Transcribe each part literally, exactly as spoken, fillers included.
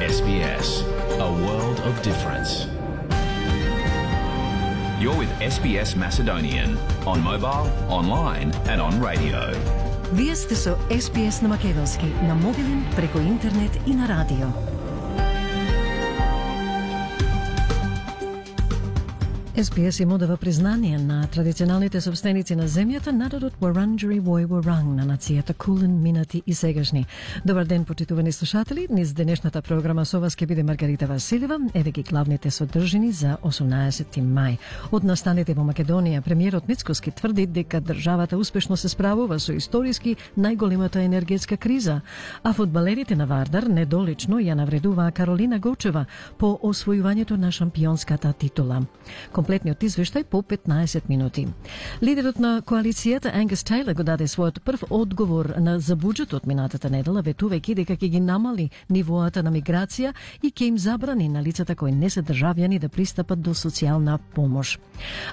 S B S, a world of difference. You're with S B S Macedonian on mobile, online and on radio. Вие сте со С Б С на македонски, на мобилен, преку интернет и на радио. С Б С им одава признание на традиционалните собственици на земјата, народот Вуранџери Вој Вуранг, на нацијата Кулен, минати и сегашни. Добар ден, почитувани слушатели. Низ денешната програма со вас ќе биде Маргарита Василева. Еве ги главните содржини за осумнаесети мај. Од настаните во Македонија, премиерот Мицкоски тврди дека државата успешно се справува со историски најголемата енергетска криза, а фудбалерите на Вардар недолично ја навредуваа Каролина Гочева по освојувањето на шампионската титула. Комплетниот извештај по петнаесет минути. Лидерот на коалицијата Ангус Тейлор го даде својот прв одговор на за буџетот минатата недела, ветувајќи дека ќе ги намали нивоата на миграција и ќе им забрани на лицата кои не се државјани да пристапат до социјална помош.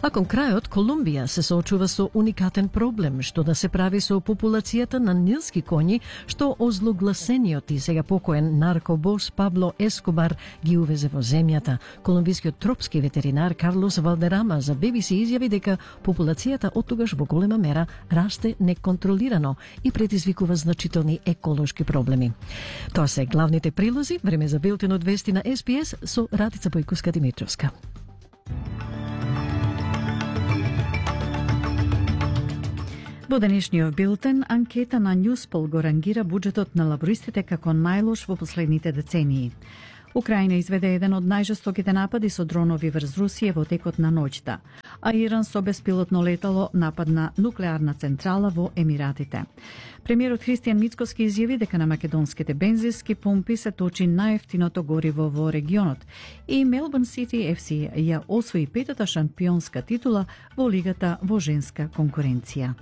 А кон крајот, Колумбија се соочува со уникатен проблем, што да се прави со популацијата на нилски коњи, што озлогласениот и сега покоен наркобос Пабло Ескобар ги увезе во земјата. Колумбискиот тропски ветеринар Карлос Валдерама за Би Би Си изјави дека популацијата од тогаш во голема мера расте неконтролирано и предизвикува значителни еколошки проблеми. Тоа се главните прилози. Време за билтенот вести на С Б С со Радица Бојковска-Димитровска. Во денешниот билтен, анкета на Newspol го рангира буџетот на лабористите како најлош во последните децении. Украина изведе еден од најжестоките напади со дронови врз Русија во текот на ноќта, а Иран со беспилотно летало нападна нуклеарна централа во Емиратите. Премиерот Христијан Мицкоски изјави дека на македонските бензински пумпи се точи најефтиното гориво во регионот и Мелбурн Сити Еф Си ја освои петата шампионска титула во лигата во женска конкуренција.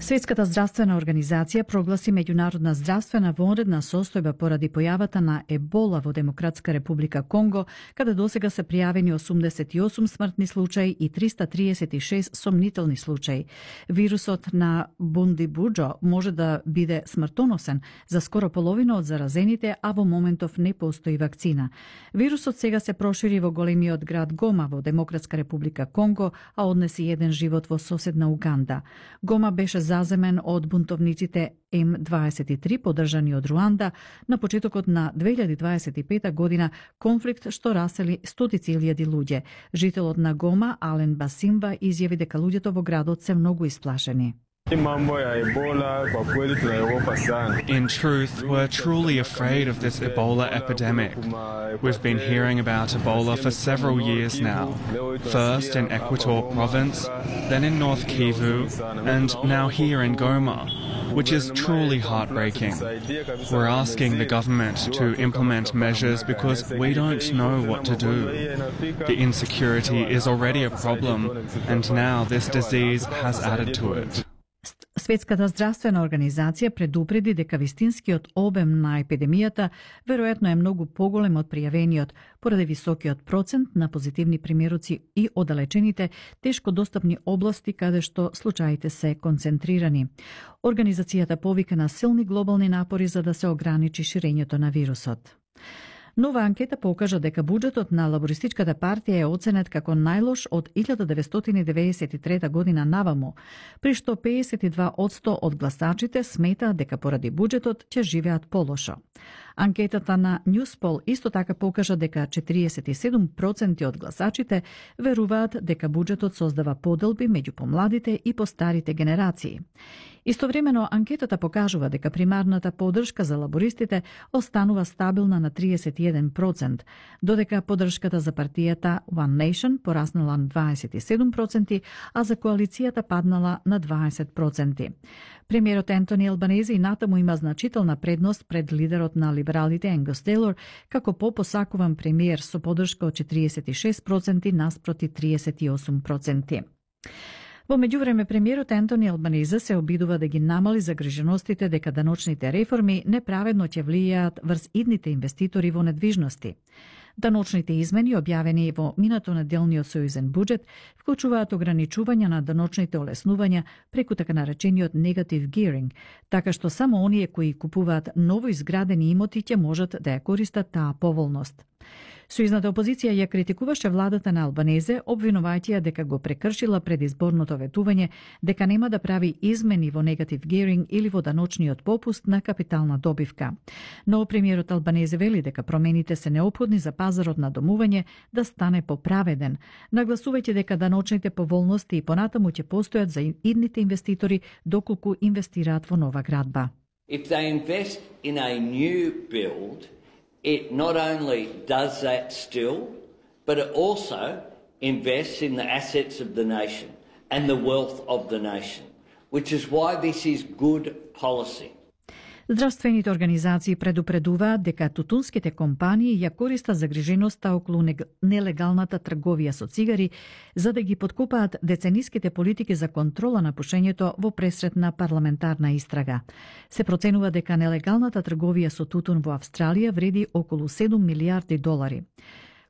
Светската здравствена организација прогласи меѓународна здравствена вонредна состојба поради појавата на ебола во Демократска република Конго, каде досега се пријавени осумдесет и осум смртни случаи и триста триесет и шест сомнителни случаи. Вирусот на Бундибуџо може да биде смртоносен за скоро половина од заразените, а во моментов не постои вакцина. Вирусот сега се прошири во големиот град Гома во Демократска република Конго, а однеси еден живот во соседна Уганда. Гома беше заземен од бунтовниците М дваесет и три поддржани од Руанда на почетокот на две илјади дваесет и пета година, конфликт што расели стотици илјади луѓе. Жителот на Гома, Ален Басимба, изјави дека луѓето во градот се многу исплашени. In truth, we're truly afraid of this Ebola epidemic. We've been hearing about Ebola for several years now. First in Equator province, then in North Kivu, and now here in Goma, which is truly heartbreaking. We're asking the government to implement measures because we don't know what to do. The insecurity is already a problem, and now this disease has added to it. Светската здравствена организација предупреди дека вистинскиот обем на епидемијата веројатно е многу поголем од пријавениот, поради високиот процент на позитивни примероци и оддалечените, тешко достапни области каде што случаите се концентрирани. Организацијата повика на силни глобални напори за да се ограничи ширењето на вирусот. Нова анкета покажа дека буџетот на Лабористичката партија е оценет како најлош од илјада деветстотини деветдесет и трета година наваму, при што пеесет и два одсто од гласачите сметаат дека поради буџетот ќе живеат полошо. Анкетата на Newspol исто така покажа дека четириесет и седум проценти од гласачите веруваат дека буџетот создава поделби меѓу помладите и постарите генерации. Истовремено, анкетата покажува дека примарната поддршка за лабористите останува стабилна на триесет и еден процент, додека поддршката за партијата One Nation пораснала на дваесет и седум проценти, а за коалицијата паднала на дваесет проценти. Премиерот Ентони Албанези и натаму има значителна предност пред лидерот на либералите Ангус Тейлор, како попосакуван премиер со поддршка од четириесет и шест проценти наспроти триесет и осум проценти. Во меѓувреме, премиерот Ентони Албанезе се обидува да ги намали загриженостите дека даночните реформи неправедно ќе влијаат врз идните инвеститори во недвижности. Даночните измени, објавени во минато неделниот сојузен буџет, вклучуваат ограничување на даночните олеснувања преку така наречениот negative gearing, така што само оние кои купуваат ново изградени имоти ќе можат да ја користат таа поволност. Сојузната опозиција ја критикуваше владата на Албанезе, обвинувајќи ја дека го прекршила предизборното ветување, дека нема да прави измени во негатив геринг или во даночниот попуст на капитална добивка. Но премиерот Албанезе вели дека промените се неопходни за пазарот на домување да стане поправеден, нагласувајќи дека даночните поволности и понатаму ќе постојат за идните инвеститори доколку инвестираат во нова градба. If they invest in a new build, it not only does that still, but it also invests in the assets of the nation and the wealth of the nation, which is why this is good policy. Здравствените организации предупредуваат дека тутунските компании ја користат загриженоста околу нелегалната трговија со цигари за да ги подкопаат децениските политики за контрола на пушењето во пресретна парламентарна истрага. Се проценува дека нелегалната трговија со тутун во Австралија вреди околу седум милијарди долари.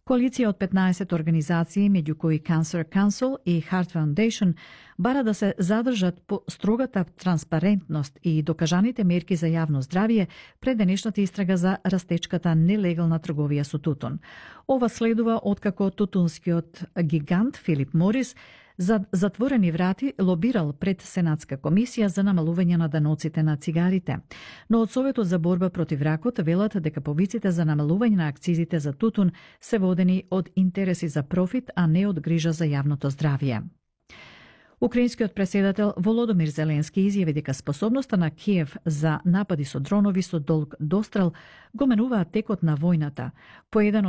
Коалиција од петнаесет организации, меѓу кои Cancer Council и Heart Foundation, бара да се задржат по строгата транспарентност и докажаните мерки за јавно здравје пред денешната истрага за растечката нелегална трговија со тутун. Ова следува откако тутунскиот гигант Филип Морис за затворени врати лобирал пред Сенатска комисија за намалување на даноците на цигарите. Но од Советот за борба против ракот велат дека повиците за намалување на акцизите за тутун се водени од интереси за профит, а не од грижа за јавното здравје. Украинскиот преседател Володомир Зеленски изјави дека способноста на Киев за напади со дронови со долг дострел го менуваат текот на војната. По еден